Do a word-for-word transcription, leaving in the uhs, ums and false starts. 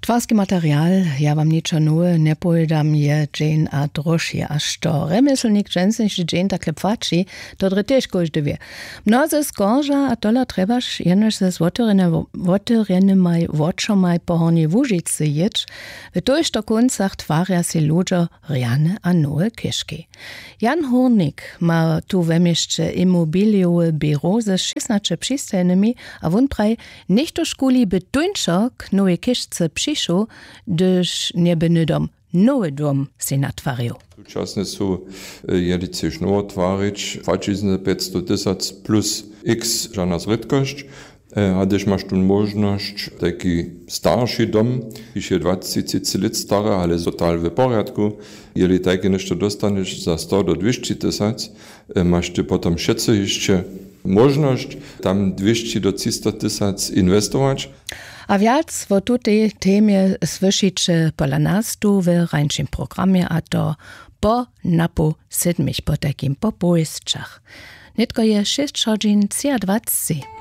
Twarski material, ja wam ničo nowe njepowědam, je dźeń a droši a što rjemjeslnik dźensniši dźeń takle płaći, to drje tež kóždy wě. Mnozy skorža a tola trjebaš jenož ze złotyrjenymaj wočomaj po hornjej łužicy jěć. W tójšto kóncach twarja sej ludźo rjane a nowe chěžki. Jan hórnik ma tu we měsće imobilijowe běro ze šěsnaće přistajnymi a wón praji, něchtožkuli by tóńšo k nowej chěžce přišoł, hdyž njeby hnydom nowy dom sej natwarił. Tučasne su jeli chceš nowo twarić płaćizny pjećstow tysac plus x žana zrědkosć. A hdyž maš tu móžnosć tajki starši dom, kiž je dwacetyscyc lět stary ale total w porjadku, jeli tajke něšto dóstanješ za sto do dwěsći tysac, maš ty potom wšetcy hišće móžnosć tam dwěsći do třista tysac inwestować. A wjac wo tutej temje słyšiće pola nas tu w rańšim programje a to po napoł sydmich potajkim po powěsćach. Nětko je šěsć hodźin třiadwacci.